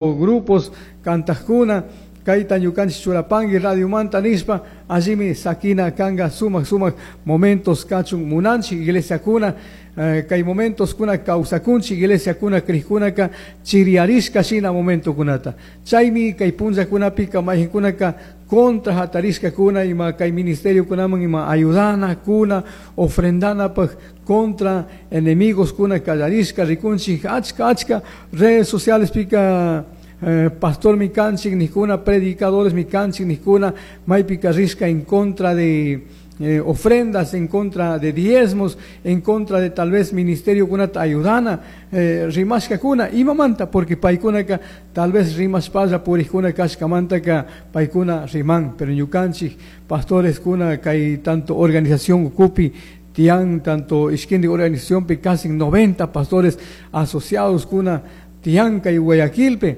Grupos cantajkuna kayta ñukanchik churapanki radiomanta nishpa allimi sakina kanga sumak sumak momentos kachun munanchik iglesiakuna kay momentoskuna kawsakunchik iglesiakuna crijkunaka chiriyarishka shina momentokunata chaymi kay punllakunapika mayqinkunaka contra hatarishkakuna ima kay ministeriokunaman ima ayudanakuna ofrendanapaq contra enemigos kuna kallarishka rikunchik achka achka redes sociales pika pastor mi kanchik nijkuna predicadores mi kanchik nijkuna maypika rishka en contra de ofrendas, en contra de diezmos, en contra de tal vez ministerio kunata ayudana, rimashkakuna, imamanta, porque paykunaka tal vez rimashpalla purikuna kashkamantaka paykuna riman, pero ñukanchik pastores kuna kay tanto organización ukupi tiyan tanto ishkindi organización pi casi 90 pastores asociados kuna tiyan kay Guayaquilpe,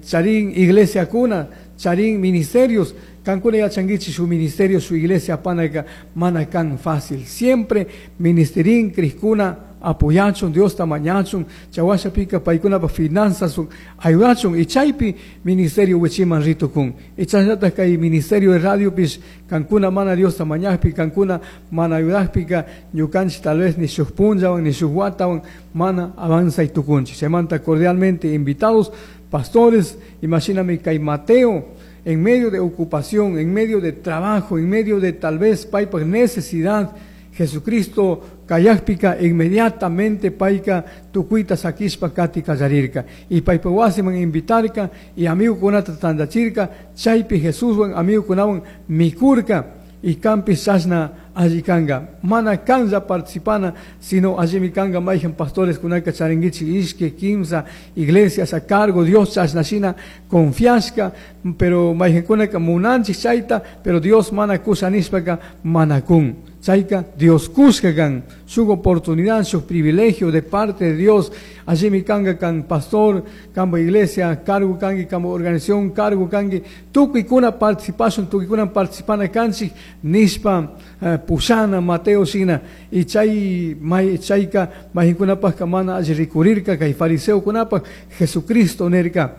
charin iglesia kuna, charin ministerios, kankuna yachankichik su ministerio, su iglesia panaka mana kan fácil. Siempre ministerin crijkuna apoyachun, Diosta mañachun, chawashapika paykunapa finanzas ayudachun, y chaypi ministerio wichiman ritukun. Y chashnata kay ministerio de radio pis kankuna mana Diosta mañajpi, kankuna mana ayudajpika ñukanchik tal vez ni shuk punllawan ni shuk watawan mana avanzay tukunchik. Chaymanta cordialmente invitados pastores, imagíname kay Mateo en medio de ocupación, en medio de trabajo, en medio de tal vez paypak necesidad, Jesucristo kayakpika inmediatamente payka tukuyta sakishpa kati kallarirka. Y paypa wasiman invitarka y amigukunata tantachirka, chaypi Jesuswan amigukunawan mikurka y kanpis chashna alli kanga. Mana kanlla participana, sino allimi kanga mayhan pastores kunaka charinkichik ishki, kimsa, iglesias a cargo, Dios chashna shina confiashka, pero mayhankunaka munanchik chayta, pero Dios mana kusha nishpaka mana kun. Chayka Dios kushka kan, su oportunidad, su privilegio de parte de Dios. Allimi kanga kan pastor, kanpa iglesia, cargo kanki, kanpa organización, cargo kanki, tukuykuna participashun, tukuykuna participana kanchik, nishpa pushana Mateo shina, y chay may chayka mayqinkunapaqka mana alli rikurirka, kay fariseokunapaq Jesucristo nirka,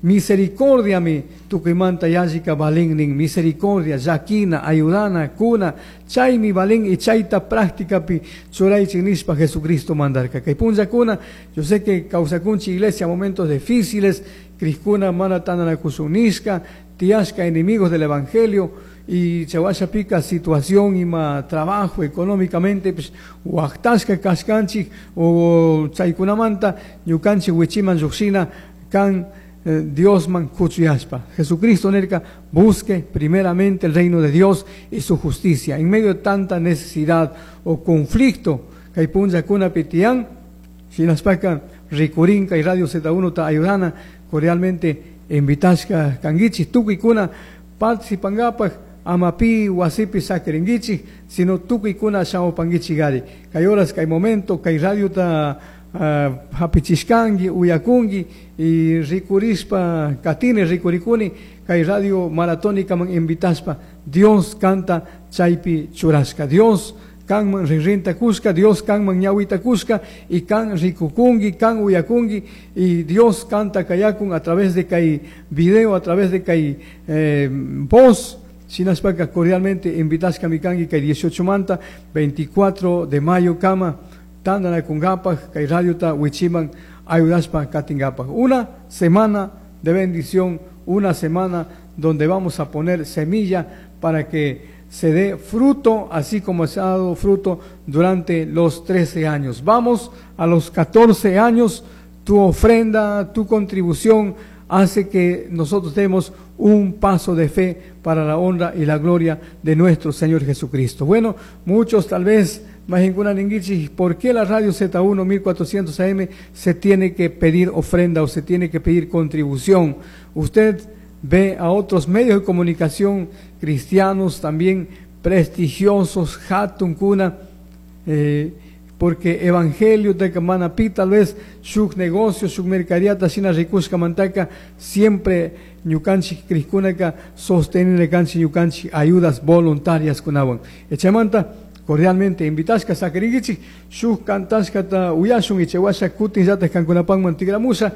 misericordia mi tukuymanta yallika valin nin, misericordia, llakina, ayudana, kuna, chaymi valin y chayta prácticapi churaychik nishpa Jesucristo mandarka. Kay punllakuna, yo sé que kawsakunchik iglesia momentos difíciles, crijkuna mana tandanakushun nishka, tiyashka enemigos del evangelio, y chawashapika situación ima trabajo económicamente, pues, waqtashka kashkanchik o chaykunamanta ñukanchik wichiman lluqshina kan Diosman kuchuyashpa. Jesucristo nirka busque primeramente el reino de Dios y su justicia. En medio de tanta necesidad o conflicto, kay punllakunapi tiyan, shinaspaka rikurin kay Radio Z1 ta ayudana, cordialmente invitashka kankichik tukuykuna participangapak, ama pi wasipi sakirinkichik, sino tukuykuna shamupankichik ari. Kay horas, kay momento, kay radio ta hapichishkanki, uyakunki, y rikurishpa, katini rikurikuni, kay radio maratónicaman invitashpa, Dios kanta chaypi churashka. Dios kanman rinrinta kushka, Dios kanman ñawita kushka, y kan rikukunki, kan uyakunki, y Dios kanta kayakun a través de kay video, a través de kay voz. Shinashpaka cordialmente invitashka mikanki kay 18 manta, 24 de mayo kama, tandanakungapak, kay radio ta wichiman ayudashpa katingapak. Una semana de bendición, una semana donde vamos a poner semilla para que se dé fruto, así como se ha dado fruto durante los 13 años. Vamos a los 14 años, tu ofrenda, tu contribución hace que nosotros demos un paso de fe para la honra y la gloria de nuestro Señor Jesucristo. Bueno, muchos tal vez, más ninguichi, ¿por qué la radio Z1 1400 AM se tiene que pedir ofrenda o se tiene que pedir contribución? Usted ve a otros medios de comunicación cristianos también prestigiosos, hatun kuna, porque evangelio de Manapi, tal vez shuk negocio, shuk mercadería, tashina rikushka mantaka, siempre ñukanchik crijkunaka sostenine kanchik ñukanchik ayudas voluntarias kunawan. Echamanta Cordialmente invitashka saquiringuichik. Shuk cantashkata uyashun, ichewasha kutinllatak kankunapakman tigramusha.